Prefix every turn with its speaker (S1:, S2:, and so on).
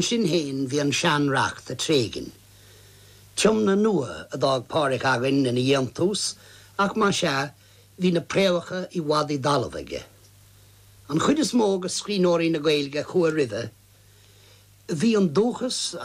S1: Sin féin bhí an sean-reacht ag tréigean. Tiomna nua a d'fhág Pádhraic againn ina dhéantús ach más ea, bhí na préamhacha i bhfad i dtalamh aige. An chuid is mó de scríbhneoirí na Gaeilge a chuaigh roimhe, bhí an dúchas.